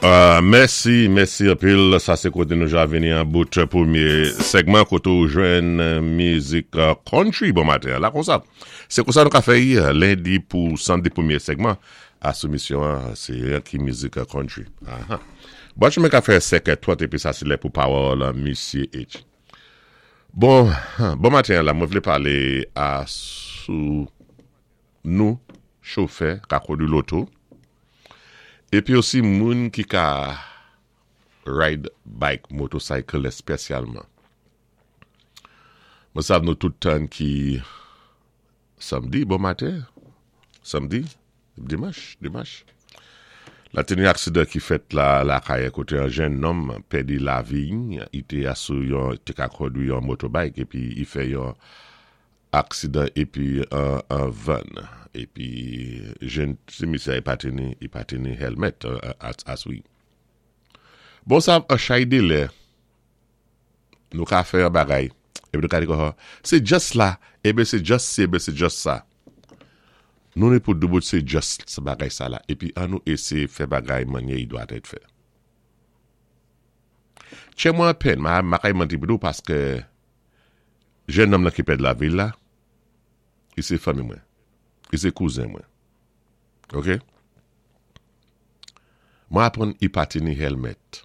Mèsi, mèsi anpil. Sa sé koté nou ja vini an bout pwémyé sègman koté ou jwenn mizik country bon maten an la konsa. Sé konsa nou ka fè y lendi pou samdi pwémyé sègman a sou misyon an sé yon ki mizik country. Aha. Bwat chemen ka fè 5 è 30 épi sa sé lè pou pawòl misye H. Bon, bon maten an la mwen vlé palé a sou nou chofè ka kondwi loto epi osi moun ki ka ride bike motorcycle espesyalman mwen sav nou tout tann ki samdi bon maten samdi dimanch dimanch la te gen aksidan ki fèt la lakay kote yon jenn nonm pèdi lavi i te sou yon te ka kondwi yon motobike epi i fè yon Aksidan epi an vann epi jenn ti misye a pa te ni li pa te ni helmet aswi. Bon sa an chay de lè nou ka fè yon bagay epi nou ka di konsa se just la eben se just si eben se just sa. Nou ni pou doubout se just bagay sa la epi an nou eseye fè bagay manyè i dwa tèt fè. Tchè mwen an pèn ma kay manti pou nou paske Jèn nonm lan ki pèd lavi l la, li se fanmi mwen. Li se kouzen mwen. Ok. Mwen aprann i pa teni helmet.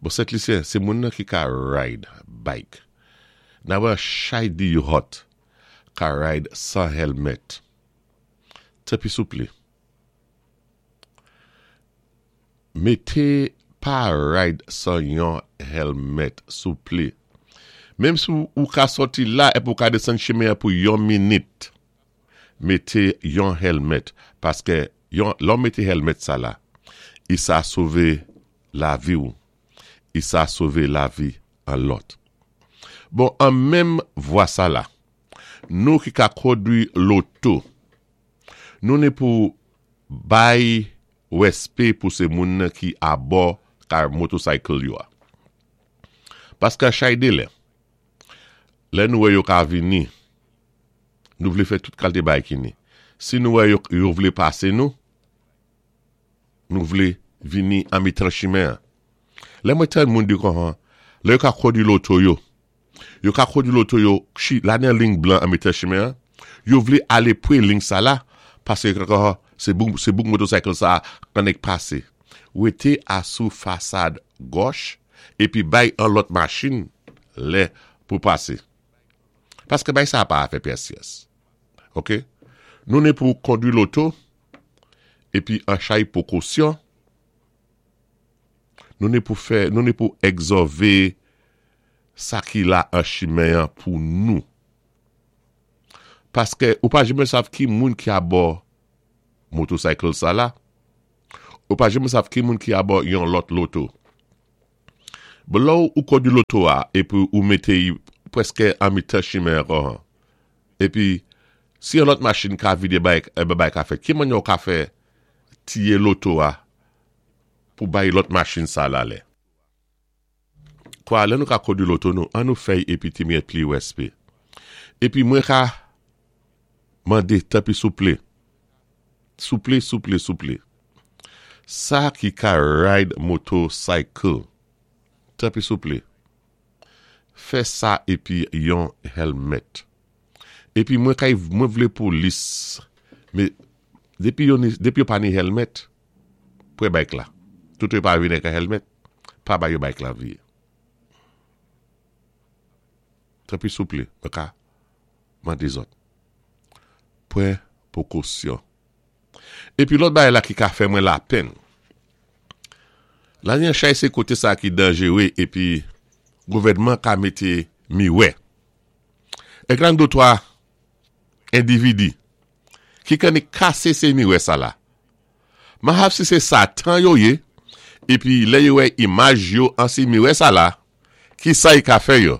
Bon Sent Lisyen, se moun nan ki ka ride bike. Nan wè chay di yo hot ka ride san helmet. Tanpi souple. Mete pa ride sang yon helmet souple. Menm si ou ka sòti la epi ou ka desann chimen an pou yon minit mete yon helmet paske yon lè w mete helmet sa la i sa sove lavi w i sa sove lavi an lòt. Bon an menm vwa sa la nou ki ka kondwi loto nou ni pou bay Respé pou se moun nan ki abò car motorcycle yo a. Paske chay de lè, lè nou wè yo ka vini, nou vle fè tout kalte bagay ki ni. Si nou wè yo vle pase nou, nou vle vini an mitan chimen an. Lè mwen tann moun di konhan, lè yo ka kondwi loto yo, Yo ka kondwi loto yo chi la nan ling blan an mitan chimen an, yo vle ale pre ling sa la, paske se bouk se bouk motocycle sa annik pase. Wete a sou fasad gòch epi bay an lòt machin lè pou pase. Paske bay sa pa afè pyès pyès. Ok. Nou ne pou kondwi loto epi an chay pwokosyon. Nou ne pou fè, nou ne pou egzòve sa ki la an chimen an pou nou. Paske ou pa janmen sav ki moun ki abò motocycle sa la, ou pa janmen sav ki moun ki abò yon lòt loto. Bon lè ou kondwi loto a epi ou mete y preske an mitan chimen an kòhan, epi si yon lòt machin ka vide bay bay ka fèt, ki manyè ou ka fè tiye loto a pou bay lòt machin sa lalè. Kwa lè nou ka kondwi loto nou an nou fèy epi ti miyèt pli wèspe. Epi mwen ka mande tanpri souple souple souple souple sa ki ka ride moto cycle tanpri souple fè sa epi yon helmet epi mwen kay mwen vle polis me depi yo depi yo pa ni helmet Pre bike la. Tout yo pa vin ak helmet, pa ba yo bike la vye. Tanpri souple, mwen ka mande zòt. Pran pwokosyon. Epi lòt bagay la ki ka fè mwen lapenn. Lanyanchay se kote sa ki danjere epi gouvènman ka mete miwè. Ekran dotwa endividi ki kanni kase se miwè sa la. Mahab si se satan yo ye epi lè yo wè imaj yo an si miwè sa la kisa y ka fè yo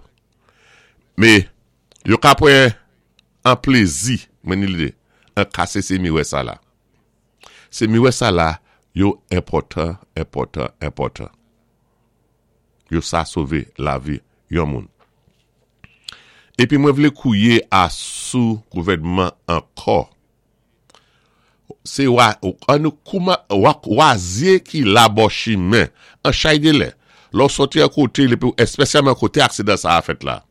me yo ka pran an plezi mwen ni lide an kase se miwè sa la se miwè sa la yo enpòtan enpòtan enpòtan yo sa sove lavi yon moun epi mwen vle kouye a sou gouvènman ankò. Sé wa, an nou kouman, wazyé ki la bò chimen, an chay dé lè. Lè w sòti an koté, lépi w, èspèsyalman koté aksidan sa a fèt la.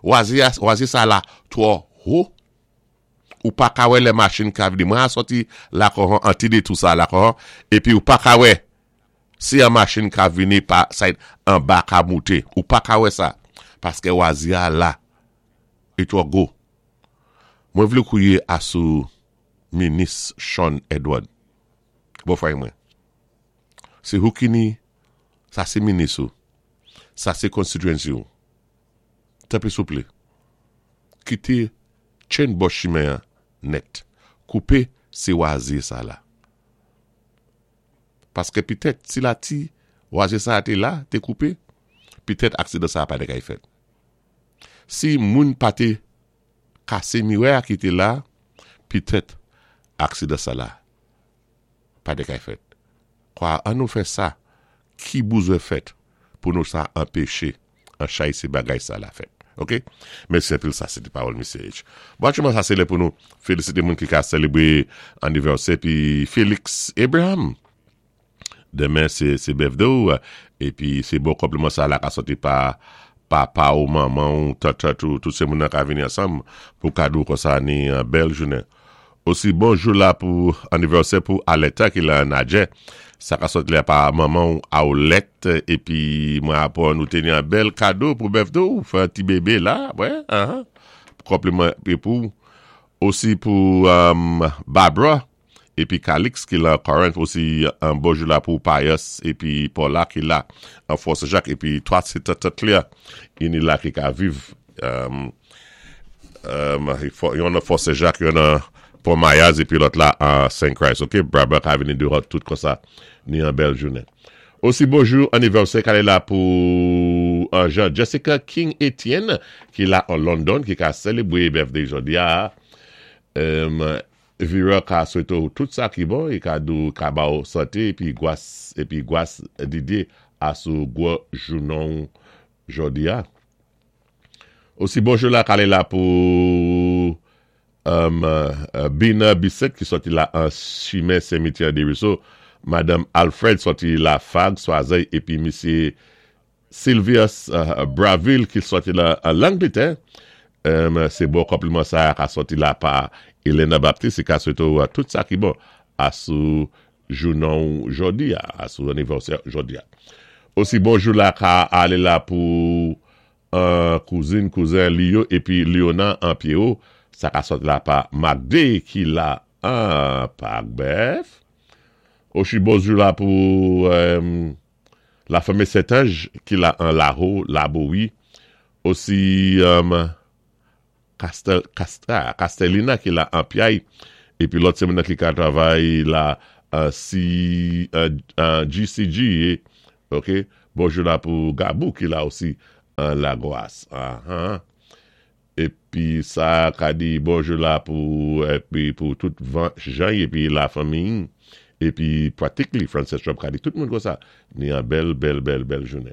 Wazyé a, wazyé sa la twò wo, ou pa ka wè lè machin ka vini. Mwen a sòti Lakòhon, an ti detou sa a Lakòhon, épi ou pa ka wè si an machin ka vini pa side anba ka moute. Ou pa ka wè sa, paskè wazyé a la, li twò gwo. Mwen vlé kwié asou Minis Shawn Edward. Bòfrè mwen. Sé hou ki ni, sa sé minis ou. Sa sé constituency ou. Tanpri souplé, kité tchenn bò chimen an nèt. Koupé sé wazye sa la. Paskè pitèt si la ti wazye sa a té la, té koupé, pitèt aksidan sa a pa té kay fèt. Si moun pa té kase mirè a ki te la, petèt aksidan sa la pa te kay fèt. Kwa an nou fè sa ki bouzwen fèt pou nou sa anpeche an chay se bagay sa la fèt. Ok. Mèsi anpil sa se te pawòl Mesye H. Bon aktyèlman sa se lè pou nou felisite moun ki ka selebre anivèsè pi Felix Abraham. Demen se birthday w epi se bon konpliman sa la ka soti pa papa w manman w tantant ou tout se moun nan ka vini ansanm pou kado w konsa ni bèl jounen. Osi bon jou la pou anivèsè pou Aletta ki lan Nadjè sa ka soti la pa manman w Aulette epi mwen aprann ou te ni yon bèl kado pou birthday w fè ti bebe la wè ahan konpliman pou osi pou Barbara epi Calix ki lan Corinth osi an bonjou la pou Pius epi Paula ki la an Fort Saint Jacques epi 3 se tant Claire ini la ki ka viv yon nan Fort Saint Jacques yon nan Pont Mayaz epi lòt la an Saint Christ ok Braba ka vini devan tout konsa ni an bèl jounen osi bonjou anivèsè kale la pou Jean Jessica King Etienne ki la an London ki ka selebre birthday jodi a. Vera ka swete w tout sa ki bon e ka di w ka ba w sante epi gwas epi gwas Didye a sou gwo jounon w jodi a. Osi bonjou la kale la pou Bina Bisset ki sòti la an chimen Semityè Deriso, Madanm Alfred sòti la Fag Swazèy epi misye Sylvius Braville ki sòti lan Langletè, se bon konpliman sa a ka sòti la pa Elena Baptiste ki ka swete w tout sa ki bon a sou jounen w jodi a, a sou anivèsè jodi a. Osi bon jou la ka ale la pou kouzin, kouzen li yo epi Liona an Pierrot, sa ka sòti la pa Magde ki la an Pak Bèf. Osi bon jou la pou. La fanmi Sentanj ki la an Laho, Labowi, osi Kastelina ki la an Pyay, epi lòt se moun nan ki ka travay la an GCG, ok, bonjou la pou Gabou ki la osi an Lagwas. Epi sa ka di bonjou la pou epi pou tout van jan epi la fanmiy epi practically Frances Trump ka di tout moun konsa ni an bèl bèl bèl bèl jounen.